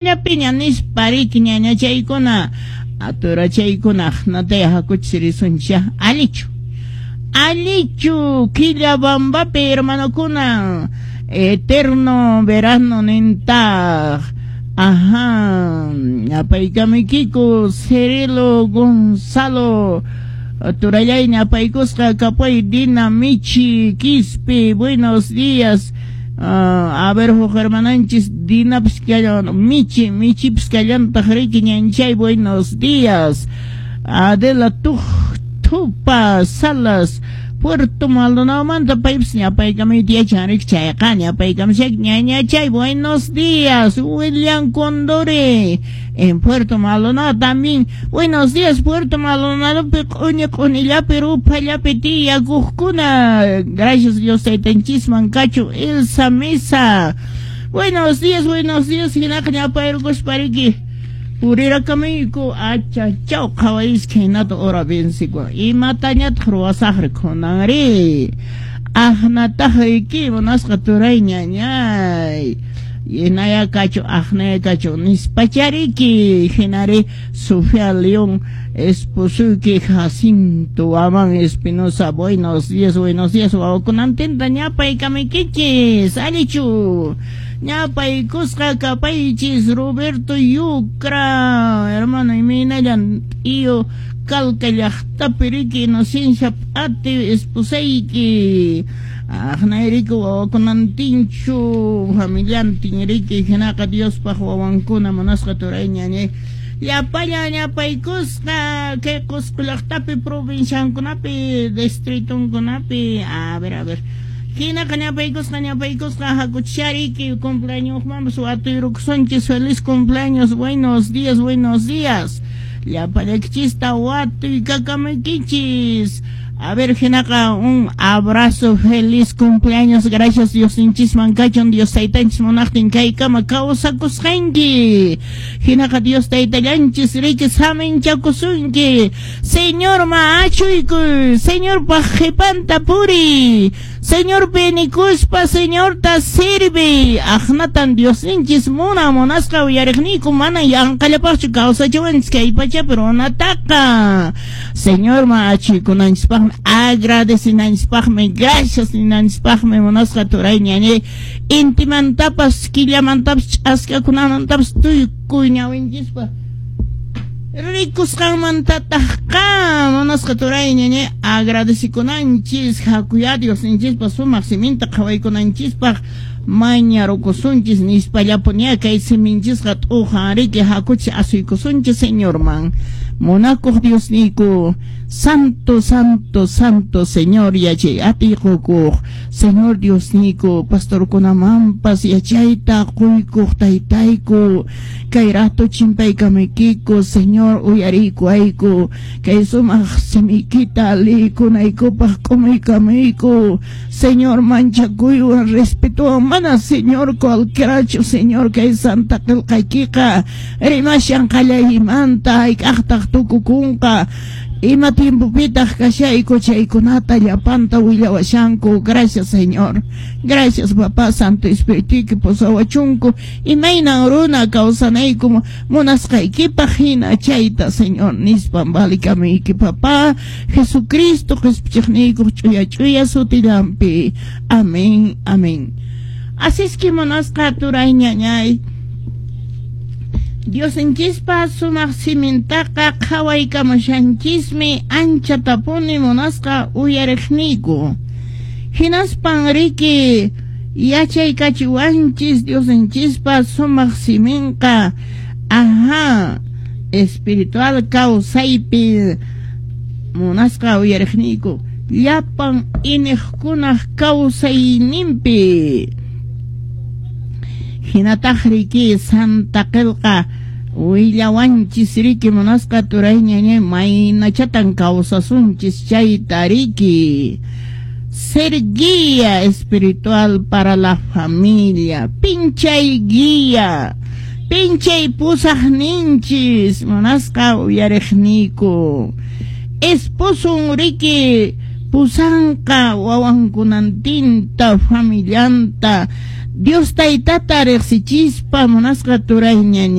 Llapiña nispa riki ñañachaykuna aturachaykuna aqnataya hakuchis risunchis allichu allichu Quillabambapi hermanokuna eterno verano nintaq ajá ñapaykamuykiku Cirilo Gonzalo turallay ñapaykusqa kapuy Dina Michi Quispe buenos días. A ver, huk hermananchis Dinapis kallan, Michi, Michipis kallantaq riki ñanchay, buenos días. Adela Tupa Salas, Puerto Maldonado paypis ñapaykamuyta yachan riki chayqa ñapaykamushayki ñañachay, buenos días. William Condori en Puerto Maldonado también, buenos días Puerto Maldonadopi q'uñi q'unillapi ruphallapi tiyakuqkuna, gracias Dios taytanchisman kachu. Elsa Mesa, buenos días, buenos días, hinaqa ñapayrukuspa riki purirakamuyku achachaw qhawayska hinata hora vencikun imatañataq ruwasaqri kunanri aqnataq riki munasqa turay ñañay hinaya kachu aqnaya kachu nispachariki hinari Sofía León esposuyki Jacinto Amán Espinosa, buenos días, buenos días wawakunantinta ñapaykamuykichis allichu ñapaykusqa kapaychis Roberto Yucra hermano imaynallan tío Calca llaqtapi riki Inocencia P'ati esposayki aqnayriki wawakunantinchu familiantin riki hinaqa Diospaq wawankuna munasqa turay ñañay llapallan ñapaykusqa kay Qusqu llaqtapi provinciankunapi distritunkunapi a ver hinaqa ñapaykusqa ñapaykusqa hakuchishariki cumpleañosmanpas watuyrukusunchis feliz cumpleaños buenos días, buenos días llapallaykichista watuykakamuykichis. A ver, hinaqa un abrazo, feliz cumpleaños, gracias Diosninchisman kachun, Dios taytanchis munaqtin kaykama kawsakusqanki. Hinaqa Dios taytallanchis riki saminchakusunki. Señor ma achuykuy, Señorpaq qhipanta puriy, Señorpi nikuspa Señorta sirvi. Aqnatan Diosninchis muna munasqa uyariqniyku mana yanqallapaqchu kawsachiwanchis kay pachapi runataqa. Señor ma achuykunanchispaqmi agradecinanchispaqmi gracias ninanchispaqmi munasqa turay ñañay intimantapas killamantapas ch'askakunamantapas tukuy ñawinchispa rikusqanmantataqqa munasqa turay ñañay agradecikunanchis hakuya Diosninchispa sumaq siminta qhawaykunanchispaq mañarukusunchis nispallapuña kay siminchisqa t'ujan riki hakuchis asuykusunchis Señorman. Munakuq Diosniyku, Santo, Santo, Santo Señor yachay atiy qukuq Señor Diosniyku, pastorkunamanpas yachayta quykuq taytayku, kay rato chimpaykamuykiku Señor uyariykuwayku, kay sumaq simiykita liykunaykupaq k'umuykamuyku, Señor manchakuywan respetuwan mana Señor cualquierachu Señor kay santa qillqaykiqa rimashan qallaymanta hayk'aqtaq tukukunqa ima tiempopitaq kashayku chaykunata llapanta willawashanku. Gracias Señor, gracias Papá Santo Espirituyki pusawachunku imaynan runa kawsanayku munasqaykipaq hina chayta Señor nispan valikamuyki Papá Jesucristo qhispichiqniykuq ch'uya ch'uya sutillanpi. Amén, amén. Así es que munasqa turay ñañay Diosninchispa sumaq simintaqa qhawaykamushanchismi anchatapuni munasqa uyariqniyku. Hinaspan riki yachaykachiwanchis Diosninchispa sumaq siminqa ajá espiritual kawsaypi munasqa uyariqniyku llapan iniqkunaq kawsayninpi. Hinataq riki Santa Qillqa willawanchis riki munasqa turay ñañay maynachatan kawsasunchis chayta riki. Ser guía espiritual para la familia, pinchay guía, pinchay pusaqninchis munasqa uyariqniyku. Esposun riki pusanqa wawankunantinta familianta Dios Taytata riqsichispa, munasqa turay.